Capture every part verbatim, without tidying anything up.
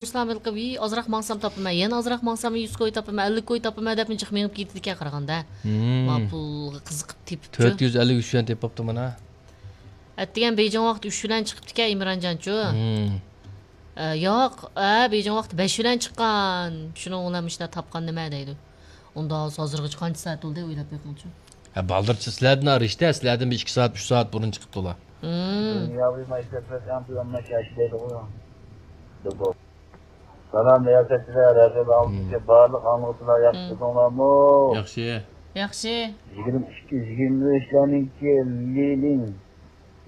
ئىسلام ھېلىقى، ۋىي، ئازراق ماڭسام تاپىمەن، يەنە ئازراق ماڭسام يۈز كوي تاپىمەن، ئەللىك كوي تاپىمەن دەپمۇ جىق مېڭىپ كېتىدىكەن قارىغاندا. مم. ما پۇلغا قىزىقىپ تېپىپچۇ. تۆت يۈز ئەللىك ئۈچ يۈەن تېپىپتۇ مانا. ئەتىگەن بېيجىڭ ۋاقتى ئۈچ بىلەن چىقىپتىكەن ئىمرانجانچۇ. مم. ئە، ياق، ئە، بېيجىڭ ۋاقتى بەش بىلەن چىققان. شۇنىڭ بىلەن مۇشۇنداق تاپقان نېمە دەيدۇ. ئۇندا ھازىرغىچە قانچە سائەت بولدى ئويلاپ بېقىڭچۇ. ھە، بالدۇرچە سىلەردىن رىشتە، سىلەردىن بىر ئىككى سائەت، ئۈچ سائەت بۇرۇن چىقىپتۇلا. مم. دۇنياۋى مەشرەپلەر ئەڭ تۆۋەن مەشەش دەيدىغۇ. دۇبو. سالام رىياسەتچىلەر، رادىيو ئاڭلىغۇچى بارلىق ئاڭلىغۇچىلار ياخشى تۇردۇڭلارمۇ؟ ياخشى. ياخشى. يىگىرمە ئىككى، يىگىرمە ئۈچلەرنىڭكى لىلىڭ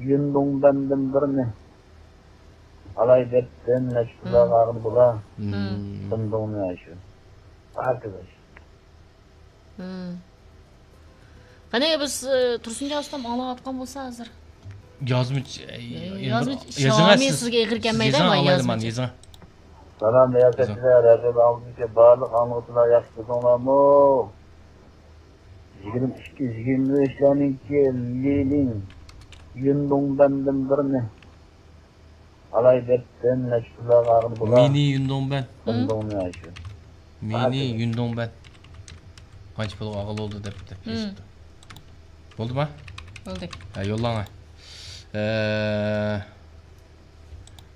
يۈندۇڭبەندىن بىرنى ئالاي دەپتىن نەچچە پۇللارغا ئالغىلى بولا. مم. سىندۇڭنى شۇ. ئارقىداش. مم. قېنى بىز، ئى، تۇرسۇنجان ئۇستام ئاڭلاۋاتقان بولسا ھازىر. يازمىچى، ئى، يازمىچى، يېزىڭە شامى سىز. سىزگە ئېغىر كەلمەيدۇ، يېزىڭە ئاڭلايلى، يازمىچى. يېزىڭە. سالام رىياسەتچىلەر، رادىيو ئاڭلىغۇچى بارلىق ئاڭلىغۇچىلار ياخشى تۇردۇڭلارمۇ؟ يىگىرمە ئىككى، يىگىرمە ئۈچلەرنىڭكى لىلىڭ يۈندۇڭبەندىن بىرنى ئالاي دەپتىن نەچچە پۇللارغا ئالغىلى بولا. مىنى يۈندۇڭبەن. سىندۇڭنى شۇ. مىنى يۈندۇڭبەن. قانچە پۇلغا ئالغىلى بولدى دەپتۇ. مم. بولدىما؟ بولدى. ھە، يوللاڭا. ئە،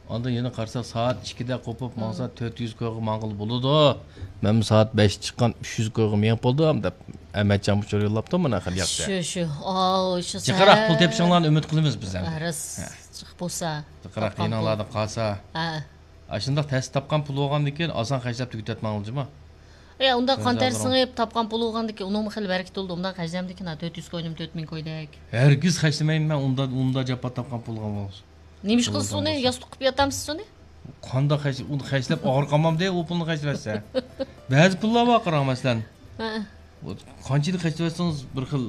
ئاندىن يەنە قارىساق، سائەت ئىككىدە قوپۇپ ماڭسا، تۆت يۈز كويغا ماڭغىلى بولىدۇ. مەنمۇ سائەت بەشتە چىققان، ئۈچ يۈز كويغا مېڭىپ بولدۇم، دەپ ئەمەتجان ئۇچۇر يوللاپتۇ مانا، خېلى ياخشى. شۇ، شۇ. ئاۋۇ، شۇ جىقراق پۇل تېپىشىڭلارنى ئۈمىد قىلىمىز بىز ئەمدى. ھە، راست. ھە. جىق بولسا، جىقراق تاپقان پۇل. يېنىڭلاردا قالسا. ھە. ئاشۇنداق تەستە تاپقان پۇل بولغاندىن كېيىن ئاسان خەجلەپ تۈگىتىۋەتمەڭلار جۇما. ئە، ئۇنداق قان تەر سىڭىپ تاپقان پۇل بولغاندىن كېيىن ئۇنىڭمۇ خېلى بەرىكىتى بولىدۇ. ئۇنداق خەجلەمدىكىن، ھە، تۆت يۈز كوينىمۇ تۆت مىڭ كويدەك. ھەرگىز خەجلىمەيمەن مەن ئۇنداق، ئۇنداق جاپا تاپقان پۇلغا بولسا. نېمە ئىش قىلىسىز ئۇنى؟ ياستۇق قىلىپ ياتامسىز ئۇنى؟ قانداق خەج-، ئۇنى خەجلەپ ئاغرىق قالمامدۇ ئۇ پۇلنى خەجلىۋەتسە؟ بەزى پۇللار بار قاراڭ، مەسىلەن. ھە. قانچىلىك خەجلىۋەتسىڭىز بىر خىل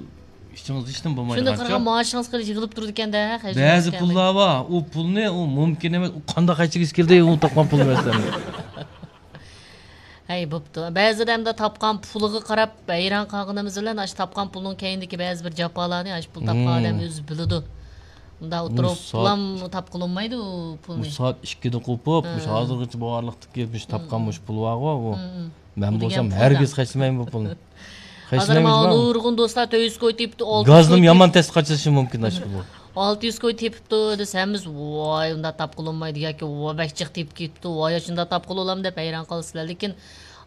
ئىچىڭىز ھېچنېمە بولمايدىغانچە. شۇنداق قارىغان مائاشىڭىز خېلى يىغىلىپ تۇرىدىكەن-دە، خەجلىۋەتكەن. بەزى پۇللار بار، ئۇ پۇلنى ئۇ مۇمكىن ئەمەس، ئۇ قانداق خەجلىگۈسى كېلدى ئۇ تاپقان پۇلنى مەسىلەن. ھەي، بوپتۇ. بەزىدە ئەمدى تاپقان پۇلىغا قاراپ ھەيران قالغىنىمىز بىلەن، ئاشۇ تاپقان پۇلنىڭ كەينىدىكى بەزى بىر جاپالارنى ئاشۇ پۇل تاپقان ئادەم ئۆزى بىلىدۇ. مۇنداق ئولتۇرۇپ پۇلام تاپقىلى بولمايدۇ ئۇ پۇلنى. بۇ سائەت ئىككىدە قوپۇپ، مۇشۇ ھازىرغىچە بارلىقتىكى مۇشۇ تاپقان مۇشۇ پۇل بارغۇ، ئۇ. مەن بولسام ھەرگىز خەجلىمەيمەن بۇ پۇلنى. ھازىر مانا نۇرغۇن دوستلار تۆت يۈز كوي تېپىپتۇ، ئالتە يۈز كوي تېپىپتۇ. گازنىمۇ يامان تەستە قاچىلىشى مۇمكىن ئاشۇ پۇل. ئالتە يۈز كوي تېپىپتۇ دېسە، ھەممىمىز ۋاي، ئۇنداق تاپقىلى بولمايدۇ ياكى ۋاي، بەك جىق تېپىپ كېتىپتۇ، ۋاي، شۇنداق تاپقىلى بولامدۇ دەپ ھەيران قالىسىلەر. لېكىن،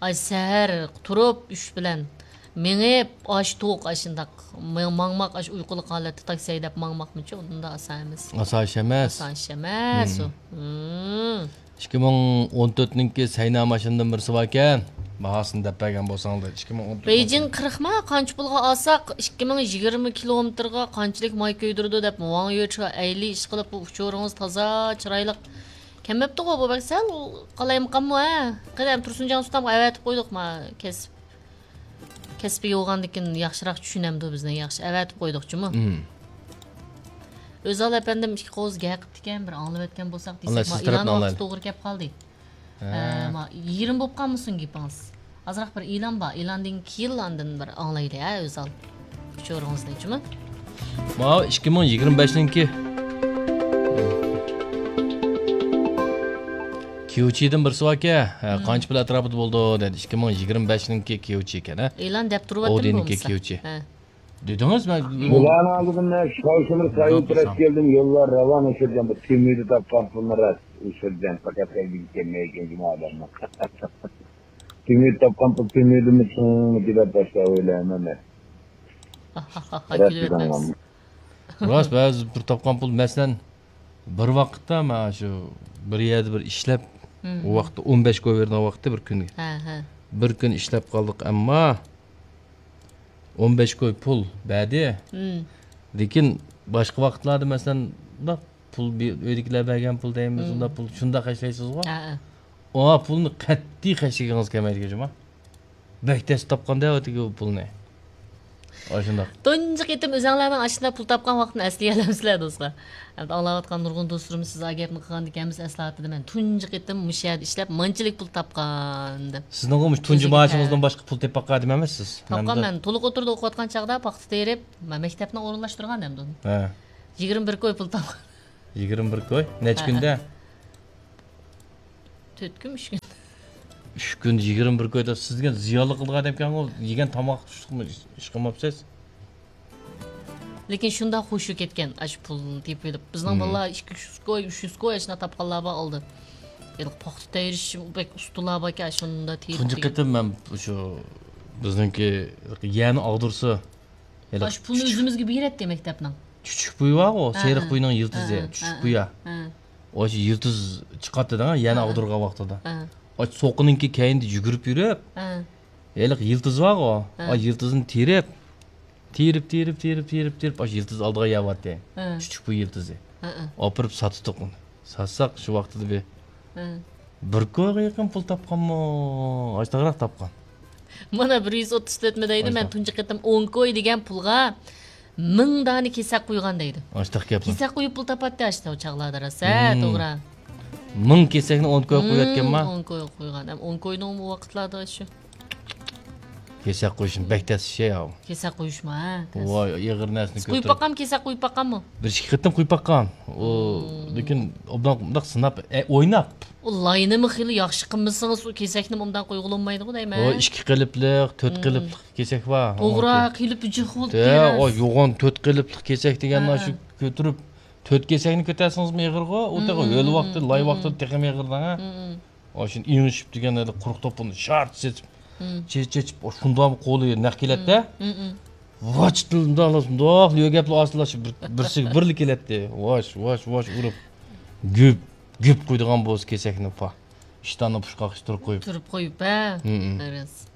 ئاي، سەھەر تۇرۇپ ئۈچ بىلەن مېڭىپ، ئاش توق، ئاشۇنداق ماڭ-، ماڭماق، ئاشۇ ئۇيقۇلۇق ھالەتتە تاكسى ھەيدەپ ماڭماقمۇچۇ، ئۇنداق ئاسان ئەمەس. ئاسان ئىش ئەمەس. ئاسان ئىش ئەمەس ئۇ. مم. ئىككى مىڭ ئون تۆتنىڭكى سەينا ماشىنىدىن بىرسى باركەن، باھاسىنى دەپ بەرگەن بولساڭلار. ئىككى مىڭ ئون تۆت بېيجىڭ قىرىقما قانچە پۇلغا ئالساق، ئىككى مىڭ يىگىرمە كىلومېتىرغا قانچىلىك ماي كۆيدۈرىدۇ دەپ، ۋاڭ يۆچۈ ئەيلى ئىش قىلىپ، بۇ ئۇچۇرىڭىز تازا چىرايلىق كەلمەپتىغۇ، بۇ بەك سەل قالايمىقانمۇ، ھە؟ قېنى، تۇرسۇنجان ئۇستامغا ئەۋەتىپ قويدۇق ما، كەسىپ. كەسپىي بولغاندىكىن ياخشىراق چۈشىنەمدۇ بىزنى، ياخشى ئەۋەتىپ قويدۇقچىمۇ؟ مم. ئۆزال ئەپەندىم ئىككى قوز گەپ قىپتىكەن، بىر ئاڭلىۋەتكەن بولساق دېسەك، ما، ئېلان ۋاقتى توغرا كەپ قالدى. ھە. ئە، ما، يېرىم بولۇپ قالمىسۇن گېپىڭىز. ئازراق بىر ئېلان بار، ئېلاندىن كېيىن ئاندىن بىر ئاڭلايلى، ھە، ئۆزال. ئۇچۇرىڭىزنى، جۇمۇ؟ ماۋۇ ئىككى مىڭ يىگىرمە بەشنىڭكى كيۇچىدىن بىرسى باركەن. ھە، قانچە پۇل ئەتراپىدا بولىدۇ دېدى. ئىككى مىڭ يىگىرمە بەشنىڭكى كيۇچى ئىكەن، ھە. ئېلان دەپ تۇرۇۋاتىمەن ئودىنىڭكى بولمىسا. كيۇچى. ھە. دېدىڭىز، مەن بۇلارنىڭ ئالدىدا مەن شاۋشىمىر سايىت راست كەلدىم، يوللار راۋان ئۇچۇردىم، بىر تۈمىدە تاپقان پۇلنى راست ئۇچۇردىم، پەقەت ئەلگە كەلمەي ئىكەن جۇمۇ ئادەمنىڭ. تۈمىدە تاپقان پۇل تۈمىدىمۇ چىڭمىكى دەپ باشلاپ ئويلايمەن مەن. راست دېدىڭ. راست، بەزى بىر تاپقان پۇل، مەسىلەن، بىر ۋاقىتتا مانا شۇ بىر يەردە بىر ئىشلەپ، ئۇ ۋاقىتتا ئون بەش كوي بېرىدىغان ۋاقىتتا بىر كۈنگە. ھە، ھە. بىر كۈن ئىشلەپ قالدۇق، ئەمما ئون بەش كوي پۇل بەردى. لېكىن باشقا ۋاقىتلاردا، مەسىلەن، بۇنداق پۇل بى-، ئۆيدىكىلەر بەرگەن پۇل دەيمىز، ئۇنداق پۇل شۇنداق خەجلەيسىزغۇ. ھە، ھە. ئۇ پۇلنى قەتئىي خەجلىگىڭىز كەلمەيدىكەن جۇما. بەك تەس تاپقاندا ئەۋەتىگە ئۇ پۇلنى. ئاشۇنداق. تۇنجى قېتىم ئۆزەڭلارنىڭ ئاشۇنداق پۇل تاپقان ۋاقتىنى ئەسلىيەلەمسىلەر، دوستلار؟ ئەمدى ئاڭلاۋاتقان نۇرغۇن دوستلىرىمىز سىز ئا گەپنى قىلغاندىكىن ھەممىسى ئەسلى ئاتىدى، مەن تۇنجى قېتىم مۇشۇ يەردە ئىشلەپ مانچىلىك پۇل تاپقان دەپ. سىزنىڭغۇ مۇشۇ تۇنجى مائاشىڭىزدىن باشقا پۇل تېپىپ باققان ئادەم ئەمەسسىز. تاپقان مەن. تولۇق ئوتتۇرىدا ئوقۇۋاتقان چاغدا پاختا تېرىپ، مەن مەكتەپنى ئورۇنلاشتۇرغان ئەمدى ئۇنى. ھە. يىگىرمە بىر كوي پۇل تاپقان. يىگىرمە بىر كوي؟ نەچچە كۈندە؟ تۆت كۈن، ئۈچ كۈن. ئۈچ كۈن، يىگىرمە بىر كوي دەپ، سىز دېگەن زىيانلىق قىلىدىغان ئادەمكەنغۇ، يېگەن تاماق تۇشلۇقمۇ ئىش، ئىش قىلماپسىز. لېكىن شۇنداق خۇشۇ كەتكەن، ئاشۇ پۇلنى تېپىۋېلىپ. بىزنىڭ بالىلار ئىككى يۈز كوي، ئۈچ يۈز كوي ئاشۇنداق تاپقانلار بار ئالدى. ھېلىقى پاختا تېرىش بەك ئۇستىلار باركەن، ئاشۇندا تېرىپ تۇنجى قېتىم مەن شۇ بىزنىڭكى يەنى ئاغدۇرسا، ھېلىقى ئاشۇ پۇلنى ئۆزىمىزگە بېرەتتى مەكتەپنىڭ. چۈچۈك بۇيى بارغۇ، ھە، سېرىق ھە. بۇينىڭ يىلتىزى، ھە، ھە، چۈچۈك ھە، بۇيا. ھە. ئاشۇ يىلتىز چىقاتتى دەڭ، يەنى ھە، ھە. ئاغدۇرغان ۋاقتىدا. ھە. ئاشۇ سوقىنىڭكى كەينىدە يۈگۈرۈپ يۈرۈپ، ھە. ھېلىقى يىلتىز بارغۇ، ھە. ئاشۇ يىلتىزنى تېرىپ، تېرىپ، تېرىپ، تېرىپ، تېرىپ، تېرىپ، ئاشۇ يىلتىز ئالدىغا يەۋاتتى. ھە. چۈچۈك بۇيى يىلتىزى. ھە، ھە. ئاپىرىپ ساتتۇق ئۇنى. ساتساق شۇ ۋاقتىدا بىر، ھە. بىر كويغا يېقىن پۇل تاپقانمۇ؟ ئاشتاغراق تاپقان. مانا بىر يۈز ئوتتۇز تۆت مى دەيدۇ، مەن ئاشتاق. تۇنجى قېتىم ئون كوي دېگەن پۇلغا مىڭ دانە كېسەك قۇيغان دەيدۇ. ئاشتاق گەپلا. كېسەك قۇيۇپ پۇل تاپاتتى ئاشتا ئۇ چاغلاردا راست، ھە، مم. توغرا. مىڭ كېسەكنى ئون كوي قۇيۇۋەتكەنما؟ مم، ئون كوي قۇيغان. ھەم ئون كوينىڭ ئۇ ۋاقىتلاردا شۇ. كېسەك قويۇشمۇ بەك تەس ئىش ياۋ. كېسەك قويۇشمۇ، ھە، تەس. ۋاي، ئېغىر نەرسىنى كۆتۈرۈپ. قويۇپ باققانمۇ، كېسەك قويۇپ باققانمۇ؟ بىر ئىككى قېتىم قويۇپ باققان. ئۇ، مم. لېكىن ئوبدان مۇنداق سىناپ، ئە، ئويناپ. ئۇ لاينىمۇ خېلى ياخشى قىلمىسىڭىز، ئۇ كېسەكنى ئوبدان قويغىلى بولمايدىغۇ دەيمەن. ئۇ ئىككى قېلىپلىق، تۆت مم. قېلىپلىق كېسەك بار. توغرا، ئۇنىڭكى. قېلىپى جىق بولۇپ ھە، تۇرىدۇ. ئۇ يوغان تۆت قېلىپلىق كېسەك دېگەن ھە، شۇ ھە. كۆتۈرۈپ، تۆت كېسەكنى كۆتەرسىڭىزمۇ ئېغىرغۇ، ئۇ تېخى مم، ھۆل ۋاقتى، مم، لاي مم. ۋاقتىدا تېخىمۇ ئېغىر دەڭ، ھە. مم، مم. ئاشۇنى ئېڭىشىپ دېگەن ھېلى قۇرۇق توپىنى شارت سېتىپ، مم. چېچىپ، چېچىپ، شۇنداقمۇ قولى نەق كېلەتتە. مم، مم، مم. ۋاچىتىلدىلا شۇنداق يۆگەپلا ئاستىلاشىپ بىر، بىرسىگە بىرلا كېلەتتى. ۋاش، ۋاش، ۋاش ئۇرۇپ، گۈپ، گۈپ قويىدىغان بولسا كېسەكنى پا. ئىشتاننى پۇشقاققا تۇرۇپ قويۇپ. تۇرۇپ قويۇپ، ھە. مم، مم. راست.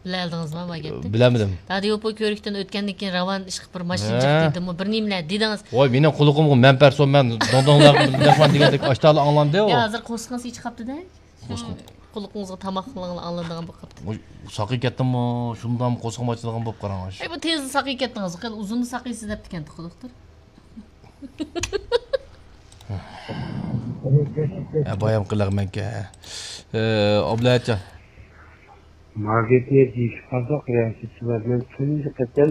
بىلەلدىڭىزمۇ ما گەپنى؟ بىلەلمىدىم. دادىيوپو كۆرۈكتىن ئۆتكەندىن كېيىن راۋان ئىشقىلىپ بىر ماشىنا ھە. جىق دېدىمۇ، بىر نېمىلەر دېدىڭىز. ۋاي، مېنىڭ قۇلىقىمغا مەنپەرسو مەن دوڭدوڭلار مەھمان دېگەندەك ئاشتالا ئاڭلاندى. يا، ھازىر قورسىقىڭىز ئېچىپ قاپتۇ-دە. قورسىقىم. قۇلىقىڭىزغا تاماق ئاڭلىنىدىغان بولۇپ قاپتۇ. ۋاي، ساقىيىپ كەتتىممۇ؟ شۇنداقمۇ قورسىقىم ئاچىدىغان بولۇپ قاراڭ. ئەي، بۇ تېزلا ساقىيىپ كەتتىڭىز. خېلى ئۇزۇنلا ساقىيسىز دەپتىكەن دوختۇر. ھە، بايام قىلىغمەنكەن. ئابلەتجان. ماگىتنى دېيىشىپ قالدۇق، رەھمىتى بىلەن تۇنجى قېتىم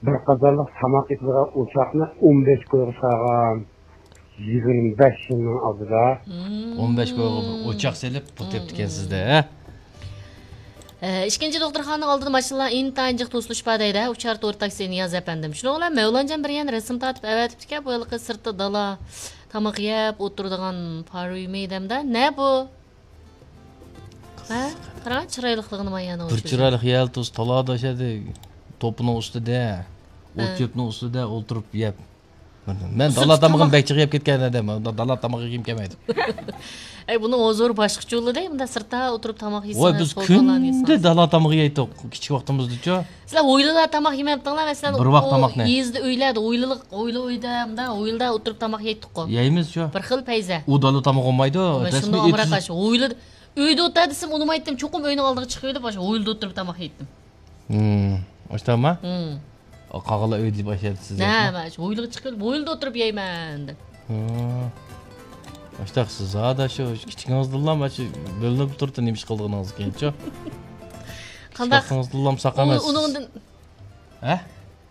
بىر قازانلىق تاماق يەيدىغان ئوچاقنى ئون بەش كويغا سالغان. يىگىرمە بەش يىلنىڭ ئالدىدا. مم. ئون بەش كويغا بىر ئوچاق سېلىپ، پۇل مم. تېپىپتىكەنسىز-دە، ھە؟ ئە، ئىككىنچى دوختۇرخانىنىڭ ئالدىدا ماشىنىلار ئىنتايىن جىق توسۇلۇشۇپ بار دەيدۇ، ئۇچار تور تاكسى نىياز ئەپەندىم. شۇنىڭ بىلەن مەۋلانجان بىر يەنە رەسىم تارتىپ ئەۋەتىپتىكەن، بۇ ھېلىقى سىرتتا دالا تاماق يەپ ئولتۇرىدىغان پارۇيمى دەمدە. نە بۇ؟ ھە؟ قاراڭ، چىرايلىقلىقىنى مايانىڭ بىر ئۆچۈرۈپ. چىرايلىق يەلتۇز تالادا ئىشەدى. توپىنىڭ ئۈستىدە. ھە. ئوت چۆپنىڭ ئۈستىدە ئولتۇرۇپ يەپ. مەن دالا تامىقىنى بەك جىق يەپ كەتكەن ئادەم. دالا تامىقى يېگۈم كەلمەيدۇ. ئەي، بۇنىڭ ھۇزۇرى باشقىچە بولىدۇ، مۇنداق سىرتتا ئولتۇرۇپ تاماق يېسىڭىز، ۋاي، بىز كۈندە دالا تامىقى يەيتتۇق، كىچىك ۋاقتىمىزدىچۇ. سىلەر ھويلىدا تاماق يېمەپتىڭلار، مەسىلەن، بىر ۋاق تاماقنى. يېزىدا ئۆيلەردە، ھويلىلىق، ھويلا ئۆيدە، مۇنداق ھويلىدا ئولتۇرۇپ تاماق يەيتتۇققۇ. يەيمىزچۇ. بىر خىل پەيزە. ئۇ دالا تاماق بولمايدۇ. مەن شۇنداق ئامراق ئاش. ھويلىدا، ئۆيدە ئولتۇر دېسەم ئۇنىمايتتىم. چوقۇم ئۆينىڭ ئالدىغا چىقىۋېلىپ، ئاشۇ ھويلىدا ئولتۇرۇپ تاماق يەيتتىم. ھىم، ئاشتاما؟ ھىم. قالغانلار ئۆيدە باشلايدۇ سىز. ھە، مەن شۇ ھويلىغا چىقىپ، ھويلىدا ئولتۇرۇپ يەيمەن دەپ. ھىم. ئاشتاق سىز ھادا شۇ كىچىكىڭىزدىنلا مانا شۇ بۆلۈنۈپ تۇرۇپتۇ نېمە ئىش قىلىدىغىنىڭىز كېيىنچۇ. قانداق؟ كىچىك ۋاقتىڭىزدىنلا ساق ئۇ-، ئەمەس. ئۇنىڭدىن ھە؟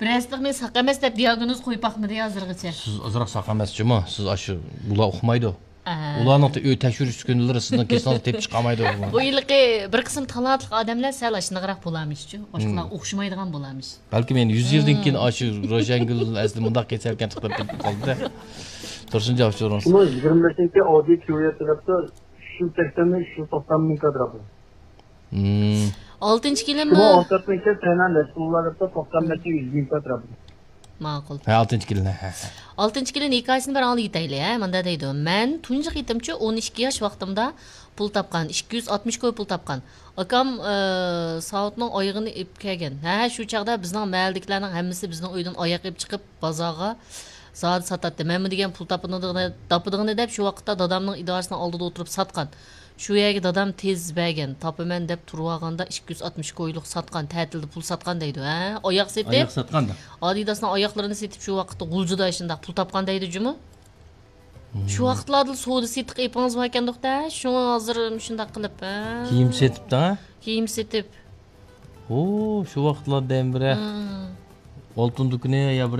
بىر ھەستىلىقنى ساق ئەمەس دەپ دىياگنوز قويۇپ باقمىدى ھازىرغىچە. سىز ئازراق ساق ئەمەسچۇما؟ سىز ئاشۇ بۇلار ئۇقمايدۇ. ئە. ئۇلارنىڭ تە-، ئۆي تەكشۈرۈش ئۈسكۈنىلىرى سىزنىڭ كېسىڭىزنى تېپىپ چىقالمايدۇ. بۇ ھېلىقى بىر قىسىم تالانتلىق ئادەملەر سەل ئاشۇنداقراق بولارمىشچۇ. باشقىلارغا ئوخشىمايدىغان بولارمىش. بەلكىم يەنە يۈز يىلدىن كېيىن ئاشۇ روشەنگۈل ئەسلى مۇنداق كېسەلكەن چىقىپ كېتىپ قالدى. تۇرسۇن جاۋاب سورىڭىز. شۇمۇ يىگىرمە بەشىنچى ئودىت كيۇيا تەرەپتە ئۈچ يۈز سەكسەن، ئۈچ يۈز توقسان مىڭ كادىر. مم. ئالتىنچى كېلىنمۇ؟ شۇمۇ ئون تۆتىنچى سەينان رەسۇلۇللا دەپتۇ، توقسان بەشتە يۈز مىڭ كادىر. ماقۇل. ھە، ئالتىنچى كېلىن، ھە، ھە. ئالتىنچى كېلىن ھېكايىسىنى بىر ئاڭلىۋېتەيلى، ھە، مۇنداق دەيدۇ، مەن تۇنجى قېتىمچە ئون ئىككى ياش ۋاقتىمدا پۇل تاپقان، ئىككى يۈز ئاتمىش كوي پۇل تاپقان. ئاكام، ئى، ساۋۇتنىڭ ئايىغىنى ئېلىپ كەلگەن. ھە، شۇ چاغدا بىزنىڭ مەھەللىدىكىلەرنىڭ ھەممىسى بىزنىڭ ئۆيدىن ئاياق ئېلىپ چىقىپ، بازارغا زادى ساتاتتى. مەنمۇ دېگەن پۇل تاپىدىغىنى، تاپىدىغىنى دەپ، شۇ ۋاقىتتا دادامنىڭ ئىدارىسىنىڭ ئالدىدا ئولتۇرۇپ ساتقان. شۇ يەرگە دادام تېز بەرگەن، تاپىمەن دەپ تۇرۇۋالغاندا ئىككى يۈز ئاتمىش كويلۇق ساتقان، تەتىلدە پۇل ساتقان دەيدۇ، ھە؟ ئاياق سېتىپ، ئاياق ساتقاندا. ئادىداسنىڭ ئاياقلىرىنى سېتىپ شۇ ۋاقىتتا غۇلجىدا شۇنداق پۇل تاپقان دەيدۇ جۇمۇ. مم. شۇ ۋاقىتلاردا سودا سېتىق ئېپىڭىز باركەندۇق-دە، شۇڭا ھازىر شۇنداق قىلىپ، ھە؟ كىيىم سېتىپتۇ، ھە؟ كىيىم سېتىپ. ھو، شۇ ۋاقىتلاردا ھەم بىرە. مم. ئالتۇن دۇكىنى يا بىر